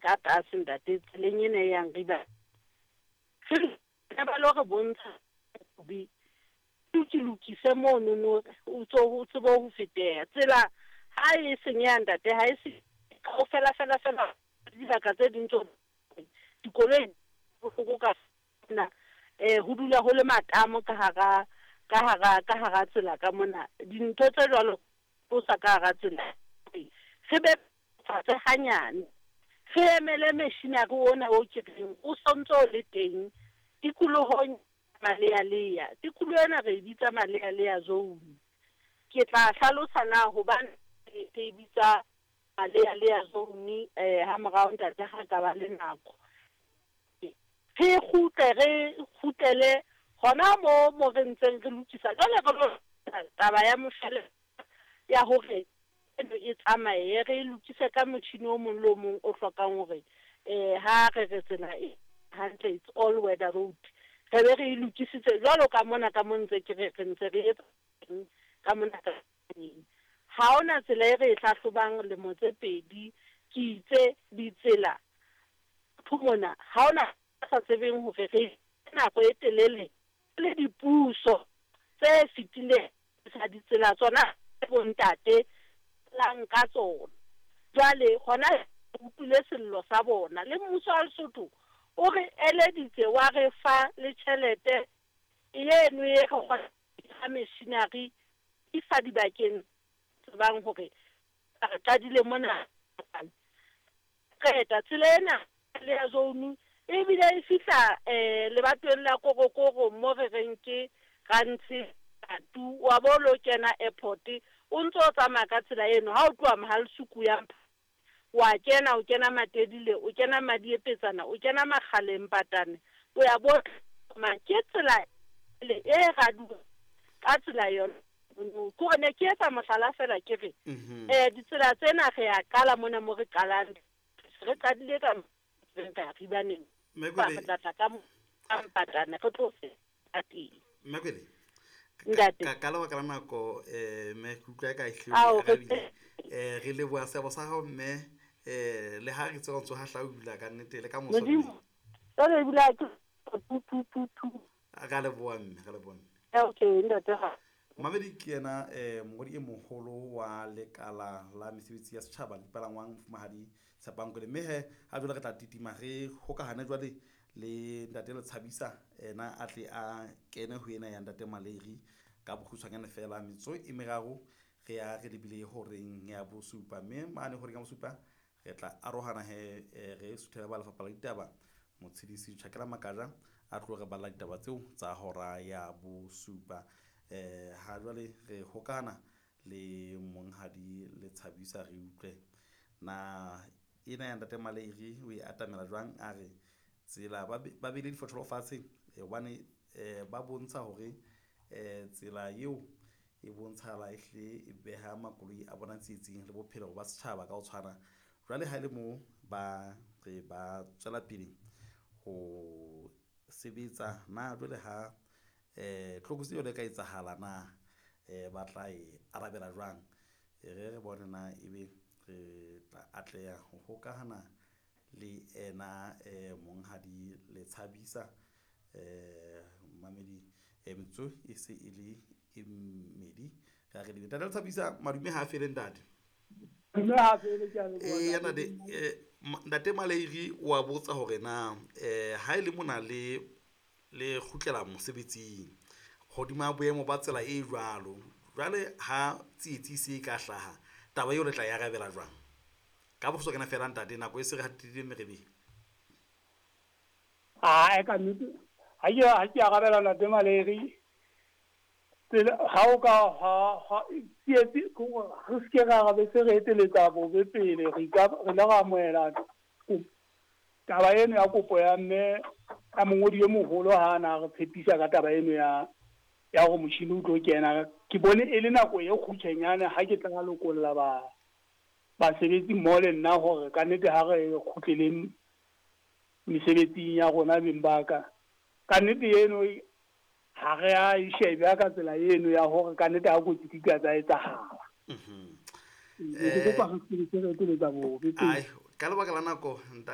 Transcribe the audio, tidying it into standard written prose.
ka tlase ntate tseleng ena e yang riba. Re ba lo re bontsha be ke lokise monono o tso o tsebe ho feteha. Tsela ha e senyeha ntate ha e se kaofela fela fela dibaka tse ding tso dikoloi bohloko ka na ho dula ho le matamo ka hara ka hara ka hara tsela ka mona. Dintho tse jwalo tlosa ka hara tsela. Re be fatshe hanyane. Re emele machinery ona o ke reng o sontso o le teng tikolohong Malealea. Tikoloho ena re e bitsa Malealea zone. Ke tla hlalosa na hobane re e bitsa Malealea zone ha morao ntate ha ka ba le nako. Re kgutle re kgutlele hona mo mo re ntseng re lokisa jwale re lo taba ya moshwelella ya hore eno e tsamaye re e lokise ka motjhini o mong le o mong o hlokang hore ha re re tsela e hantle, it's all weather road, re be re e lokisitse jwalo ka mona ka mo ntse ke re re ntse re etsa ka mona ka ha hona tsela e re e hlahlobang lemo tse pedi. Ke itse ditsela mona ha hona sa tsebeng hore re nako e telele le dipuso tse fetileng sa ditsela tsona bontate lang ka tsona. Jwale hona utlwile sello sa bona le mmuso wa Lesotho o re eleditse wa re fa le tjhelete eno e re kgona machinery isa dibakeng tsebang hore re qadile mona qeta tsela ena le ya zone ebile e fihla lebatoweng la Korokoro mo re reng ke Rantshe tu wa bo lo kena airport o ntso o tsamaya ka tsela eno ha o tloha Mohalesuku ya wa kena o kena Matedile o kena Madiepetsana o kena Makgaleng Patane o ya bo ma ke tsela le e raduwa ka tsela yona. Ke ne ke etsa mohlala fela ke re ditsela tsena re ya qala mona mo re qalang re qadile ka re ribaneng ba re tla tla ka Mpatane re tlo feta teng. Mmakwele Ntate. ka lebaka la nako mme ke utlwa ka ehlile Ao, o arabile. Re leboha seabo sa hao mme le ha re tseba ntso hahlaula ka nnete le ka moso mme. Modimo jwale ebile ha ke tu tu tu tu. Ka leboha mme, ka leboha mme. Okay ntate ha. Mamedi ke yena mongodi e moholo wa lekala la mesebetsi ya setjhaba le dipalangwang mofumahadi Tshepang Kwele. Mme he ha jwale re tla titima re hokahane jwale le ntate Letshabisa ena a tle a kene ho ena ya ntate Maleri ka bokgutshwanyane fela metso e meraro re ya re lebile horeng ya bosupa mme mane horeng ya bosupa re tla arohana he re suthela ba lefapha la ditaba Motshedisi Tjhakela Makaja a tlo re balla ditaba tseo tsa hora ya bosupa. Ha jwale re hokahana le monghadi Letshabisa re utlwe na ena ya ntate Maleri o e atamela jwang a re tsela ba beile difotholo fatshe hobane ba bontsha hore tsela eo e bontshahala ehlile e beha makoloi a bona tsietsing le bophelo ba setjhaba ka ho tshwana. Jwale ha e le moo ba re ba tswela pele ho sebetsa na jwale ha tlokotsi yona e ka etsahala na ba tla e arabela jwang. Re re bone na ebe re tla atleha ho hokahana le ena monghadi Letshabisa mamedi metsotso e se e le e mmedi re a re lebe. Ntate Letshabisa madume ha a fele ntate. Madume ha a fele, ke a leboha. Eya ntate, ntate Maleri wa botsa hore na ha e le mona le le kgutlela mosebetsing hodima boemo ba tsela e jwalo jwale ha tsietsi se ka hlaha taba eo le tla e arabela jwang ka bokgutshwanyane fela ntate nako e se re hatile merebeng. Ae ka nnete ha ke arabela ntate Maleri tsela ha o ka ha tsietsi re se ke ra be se re eteletsa bobe pele re ka re la ra amohela taba eno ya kopo ya mme ya mongodi e moholo ha na re tshepisa ka taba eno ya hore motjhini o tlo kena. Ke bone e le nako e kgutshwanyane ha ke tla lokolla ba basebetsi mmoho le nna hore ka nnete ha re kgutleleng mesebetsing ya rona beng ba ka. Ka nnete eno ha re a e shebe ka tsela eno ya hore ka nnete ha kotsi di ka tsa etsahala. Ke kopa re se re eteletsa bobe pele. Ai ka lebaka la nako.